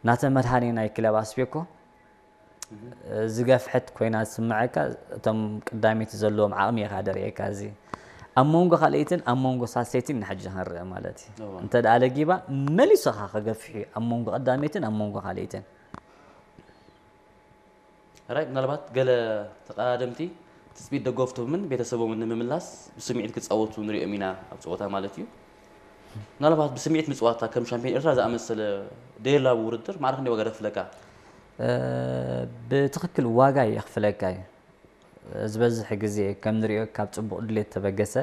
ናተ መድሃኔ ናይ ክለብ ኣስቤኮ ዝገፍሐት ኮይና ዝስምዐካ፣ እቶም ቀዳመይቲ ዘለዎም ዓቕሚ ኢኻ ደርእየካ። እዚ ኣብ መንጎ ካልኣይትን ኣብ መንጎ ሳልሰይትን ንሕጂ ክንርኢ ማለት እዩ። እወ። እንተ ደኣ ለጊባ መሊሱ ኸኣ ክገፍሕ እዩ ኣብ መንጎ ቀዳመይትን ኣብ መንጎ ካልኣይትን። ራይ ምናልባት ገለ ተቐዳደምቲ ትጽቢት ደገፍቶምን ቤተሰቦምን ንምምላስ ብስምዒት ክጻወቱ ንሪኦም ኢና ኣብ ጸወታ ማለት እዩ። ምናልባት ብስምዒት ምጽዋታ ከም ሻምፒዮን ኤርትራ ዝኣመሰለ ደየላ ውድድር ማዕረ ክንደይ ዋጋ ደኽፍለካ? ብትኽክል ዋጋ የኽፍለካ እዩ። ዝበዝሕ ግዜ ከም ንሪኦ ካብ ጽቡቕ ድሌት ተበገሰ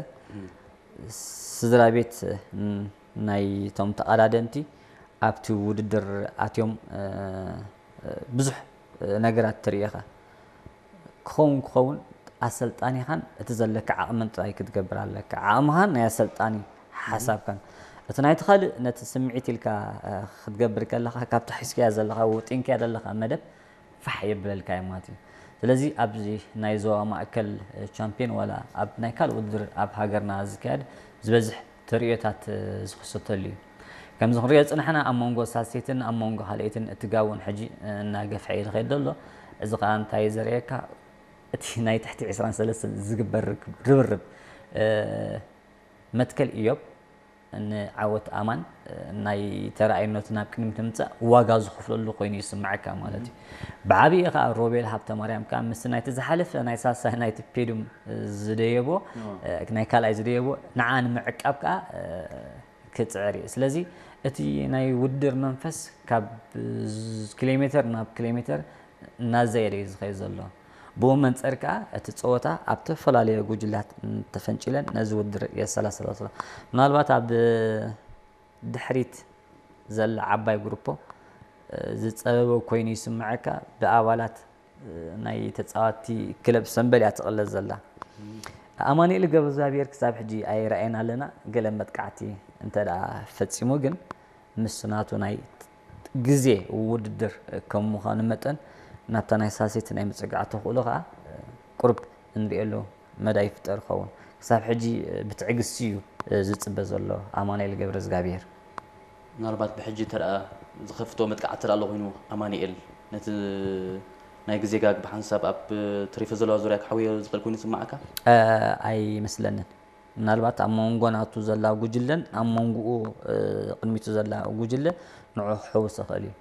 ስድራ ቤት ናይቶም ተቐዳደምቲ ኣብቲ ውድድር ኣትዮም ብዙሕ ነገራት ትርኢ ኢኻ። ክኸውን ክኸውን ኣሰልጣኒኻን እቲ ዘለካ ዓቕምን ጥራይ ክትገብር ኣለካ። ዓቕምኻን ናይ ኣሰልጣኒ ሓሳብካን። እቲ ናይቲ ካልእ ነቲ ስምዒት ኢልካ ክትገብር ከለኻ ካብቲ ሒዝካያ ዘለኻ ወጢንካያ ዘለኻ መደብ ፋሕ የብለልካ እዩ ማለት እዩ። ስለዚ ኣብዚ ናይ ዞባ ማእከል ቻምፒዮን ዋላ ኣብ ናይ ካልእ ውድድር ኣብ ሃገርና ዝካየድ ዝበዝሕ ተርእዮታት ዝኽሰተሉ እዩ። ከምዚ ክንሪኦ ዝጽናሕና ኣብ መንጎ ሳልሰይትን ኣብ መንጎ ካልኣይትን እቲ ጋውን ሕጂ እናገፍሐ እዩ ዝኸይድ ዘሎ። እዚ ኸኣ እንታይ እዩ ዘርእየካ? እቲ ናይ ትሕቲ ዕስራን ሰለስተን ዝግበር ርብርብ መትከል ኢዮብ ንዓወት ኣማን ናይ ተራኣይነቱ ናብ ቅድሚት ንምምጻእ ዋጋ ዝኸፍለሉ ኮይኑ ይስምዓካ ማለት እዩ። ብዓብዪ ከኣ ሮቤል ሃብተማርያም ከኣ ምስ ናይቲ ዝሓለፈ ናይ ሳልሳይ ናይ ፔዱም ዝደየቦ ናይ ካልኣይ ዝደየቦ ንዓ ንምዕቃብ ከኣ ክጽዕር እዩ። ስለዚ እቲ ናይ ውድድር መንፈስ ካብ ኪሎ ሜተር ናብ ኪሎ ሜተር እናዘየደ እዩ ዝኸይድ ዘሎ። ብኡ መንጸር ከኣ እቲ ጸወታ ኣብ ተፈላለየ ጉጅላት ተፈንጪለን ነዚ ውድድር የሰላስላ ዘሎ። ምናልባት ኣብ ድሕሪት ዘላ ዓባይ ግሩፖ ዝጸበበ ኮይኑ ይስምዓካ። ብኣባላት ናይ ተጻዋቲ ክለብ ሰምበል እያ ትቕለስ ዘላ። ኣማኑኤል ገብረእግዚኣብሔር ክሳብ ሕጂ ኣይረኣየን ኣለና። ገለ መጥቃዕቲ እንተ ደኣ ፈጺሙ ግን ምስ ናቱ ናይ ግዜ ውድድር ከም ምዃኑ መጠን ናብታ ናይ ሳልሰይቲ ናይ ምጽጋዕ ተኽእሎ ከኣ ቁሩብ እንርእየሉ መዳይ ይፍጠር ይኸውን። ክሳብ ሕጂ ብትዕግስቲ እዩ ዝጽበ ዘሎ ኣማኑኤል ገብረእግዚኣብሔር። ምናልባት ብሕጂ እንተ ደኣ ዝኸፍቶ መጥቃዕቲ እንተ ደኣ ኣሎ ኮይኑ ኣማኑኤል ነቲ ናይ ግዜ ጋግ ብሓንሳብ ኣብ ተሪፈ ዘለዋ ዙርያ ክሓውዮ ዝኽእል ኮይኑ ይስምዓካ? ኣይመስለንን። ምናልባት ኣብ መንጎ ናቱ ዘላ ጉጅለን ኣብ መንጎኡ ቅድሚቱ ዘላ ጉጅለ ንዑ ክሕውስ ይኽእል እዩ።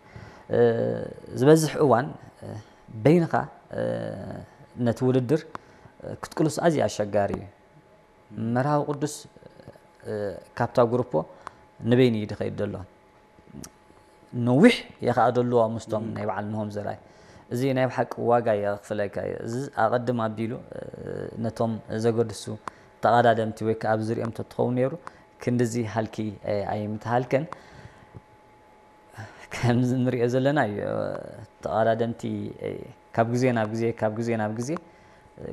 ዝበዝሕ እዋን በይንኻ ነቲ ውድድር ክትቅልሶ ኣዝዩ ኣሸጋሪ እዩ። መርሃዊ ቅዱስ ካብታ ግሩፖ ንበይኑ እዩ ዝኸይድ ዘሎ። ነዊሕ እየ ከኣ ደለዎ ምስቶም ናይ በዓል ምህም ዘርኣይ። እዚ ናይ ብሓቂ ዋጋ የኽፍለካ እዩ። እዚ ኣቐድም ኣቢሉ ነቶም ዘገድሱ ተቐዳደምቲ ወይ ከኣ ኣብ ዝሪኦም ተትኸውን ነይሩ ክንድዚ ሃልኪ ኣይምተሃልከን። ከምዚ ንሪኦ ዘለና እዩ። ተቐዳደምቲ ካብ ግዜ ናብ ግዜ ካብ ግዜ ናብ ግዜ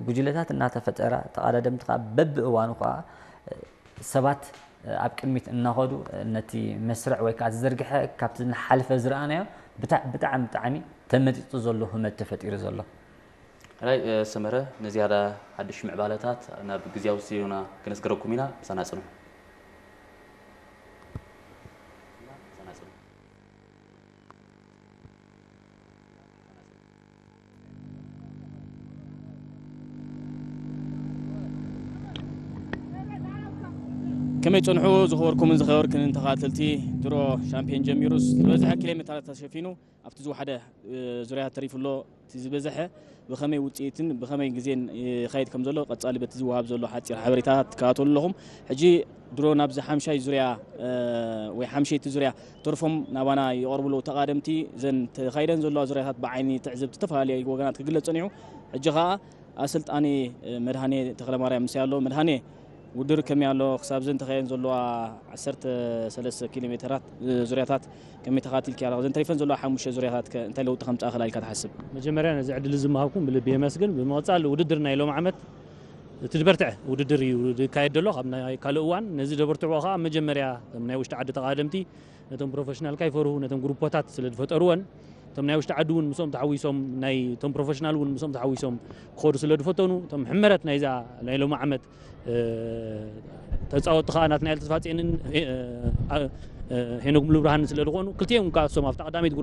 ጉጅለታት እናተፈጠራ ተቐዳደምቲ ከዓ በብእዋኑ ከዓ ሰባት ኣብ ቅድሚት እናኸዱ ነቲ መስርዕ ወይ ከዓ ዝዘርግሐ ካብቲ ዝሓለፈ ዝረኣናዮ ብጣዕ- ብጣዕሚ ብጣዕሚ ተመጢጡ ዘሎ ህመት ተፈጢሩ ዘሎ። ራይ ሰመረ ንዝያዳ ሓድሽ ምዕባለታት ናብ ግዜያዊ ስቱዲዮና ክነስገረኩም ኢና። ምሳና ጽንሑ። ከመይ ጸንሑ ዝኸበርኩምን ዝኸበርክንን ተኸታተልቲ? ድሮ ሻምፒዮን ጀሚሩስ ዝበዝሐ ኪሎ ሜትራት ተሸፊኑ ኣብቲ ዝወሓደ ዙርያ ተሪፉ ኣሎ። እቲ ዝበዝሐ ብኸመይ ውፅኢትን ብኸመይ ግዜን ይኸይድ ከም ዘሎ ቀፃሊ በቲ ዝወሃብ ዘሎ ሓፂር ሓበሬታ ትከታተሉ ኣለኹም። ሕጂ ድሮ ናብዚ ሓምሻይ ዙርያ ወይ ሓምሸይቲ ዙርያ ተርፎም ናባና ይቐርቡ ኣለዉ ተቓደምቲ። እዘን ተኻይደን ዘለዋ ዙርያታት ብዓይኒ ትዕዝብቲ ዝተፈላለየ ወገናት ክግለፅ ፀኒሑ። ሕጂ ከዓ ኣሰልጣኒ መድሃኔ ተኽለማርያም ምሳይ ኣሎ። መድሃኔ ውድድር ከመይ ኣሎ? ክሳብ እዘን ተኻይደን ዘለዋ ዓሰርተ ሰለስተ ኪሎ ሜተራት ዙርያታት ከመይ ተኻቲልኪ ኣለኻ? እዘን ተሪፈን ዘለዋ ሓሙሽተ ዙርያታት ከ እንታይ ለውጢ ከምፅኣ ክላ ኢልካ ትሓስብ? መጀመርያ ነዚ ዕድል እዚ ምሃብኩም ብልቢ የመስግን። ብምቕፃል ውድድር ናይ ሎም ዓመት እቲ ዝበርትዐ ውድድር እዩ ዝካየድ ዘሎ። ካብ ናይ ካልእ እዋን ነዚ ዘበርትዕዎ ከዓ መጀመርያ እቶም ናይ ውሽጢ ዓዲ ተቓደምቲ ነቶም ፕሮፌሽናል ካይፈርሁ ነቶም ግሩፖታት ስለ ዝፈጠርወን እቶም ናይ ውሽጢ ዓዲ እውን ምስኦም ተሓዊሶም ናይ እቶም ፕሮፌሽናል እውን ምስኦም ተሓዊሶም ክኸዱ ስለ ዝፈተኑ እቶም ሕመረት ናይዛ ናይ ሎም ዓመት ተፃወትቲ ከዓ ናትናኤል ተስፋፅዮንን ሄኖክ ሙሉብርሃንን ስለ ዝኾኑ ክልቲኦም ከዓ እሶም ኣብታ ቀዳመይቲ